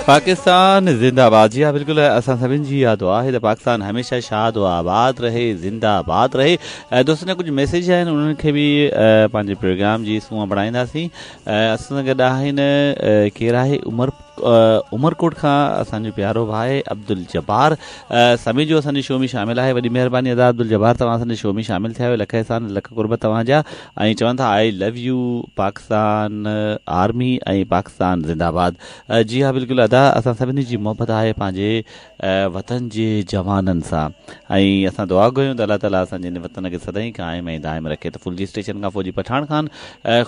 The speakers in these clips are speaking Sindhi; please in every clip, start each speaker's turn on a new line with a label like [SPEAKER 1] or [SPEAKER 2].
[SPEAKER 1] پاڪستان زنده باد جي ها بلڪل اسان سڀن جي اها دعا آهي ته پاڪستان هميشه شاد و آباد رهي زنده باد رهي دوستن جا ڪجهه ميسيج آهن انهن کي به پنهنجي پروگرام جي سونهن بڻائينداسين اسان سان گڏ آهن ڪير آهي عمر عمرڪوٽ کان اسان جو پيارو ڀاء عبدالجبار سميجو اسان جي شو ۾ شامل آهي وڏي مهرباني ادا عبدالجبار توهان اسان جي شو ۾ شامل ٿيا آهيو لک احسان لک قرب توهان جا ۽ چون ٿا I love you Pakistan army ۽ Pakistan زنده باد جي ها بلڪل ادا اسان سڀني جي محبت آهي پنهنجي وطن جي جوانن سان ۽ اسان دعا گهريون ته الله تعالي اسان جي هن وطن کي سدائين قائم ۽ دائم رکي ته ڦلجي اسٽيشن کان فوجي پٺاڻ خان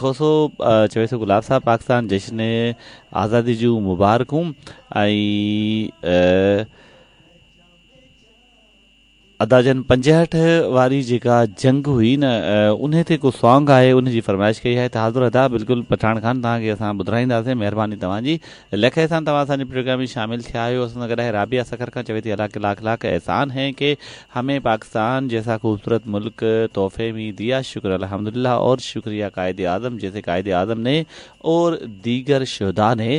[SPEAKER 1] کوسو چوي ٿو گلاب صاحب پاڪستان جشن آزادي جون مبارڪون ۽ ادا جن 65 واري جيڪا جنگ هئي نه انهي تي ڪو سانگ آهي ان جي فرمائش ڪئي آهي ته حاضر ادا بلڪل پٺاڻ خان توهان کي اسان ٻڌرائينداسين مهرباني توهان جي لک احسان توهان اسان جي پروگرام ۾ شامل ٿيا آهيو اسان سان گڏ آهي رابعه سکر کان چوي ٿي الله ڪي لاک لاک احسان هين ڪي همين پاڪستان جيسا خوبصورت ملڪ تحفي ۾ ديا شڪر الحمدلله اور شڪريه قائد اعظم جيسي قائد اعظم ني اور ديگر شهدا ني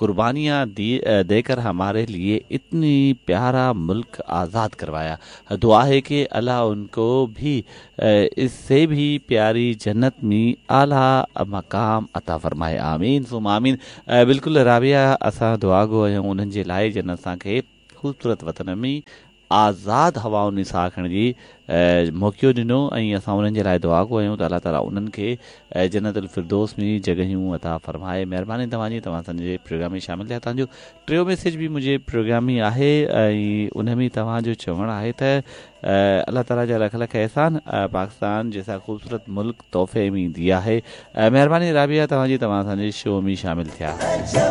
[SPEAKER 1] قربانيان ديڪر هماري ليي اتني پيارا ملڪ آزاد ڪروايا دعا هي ڪي الله ان ڪو ڀي اس سي ڀي پياري جنت مي اعليٰ مقام عطا فرمائي آمين ثم آمين بلڪل رابعه اسان دعا گو آهيون انهن جي لاء جن اسان کي خوبصورت وطن ۾ آزاد هوائن ۾ ساهه کڻڻ جي موقعو ڏنو ۽ اسان انهن جي لاء دعا گو آهيون ته الله تعالي انهن کي جنت الفردوس ۾ جڳهيون عطا فرمائي مهرباني توهان جي توهان اسان جي پروگرام ۾ شامل ٿيا توهان جو ٽيون ميسيج به منهنجي پروگرام ۾ آهي ۽ ان ۾ توهان جو چوڻ آهي ته الله تعالي جا لک لک احسان پاڪستان جيسا خوبصورت ملڪ تحفي ۾ ديا هي مهرباني رابعه توهان جي توهان اسان جي شو ۾ شامل ٿيا.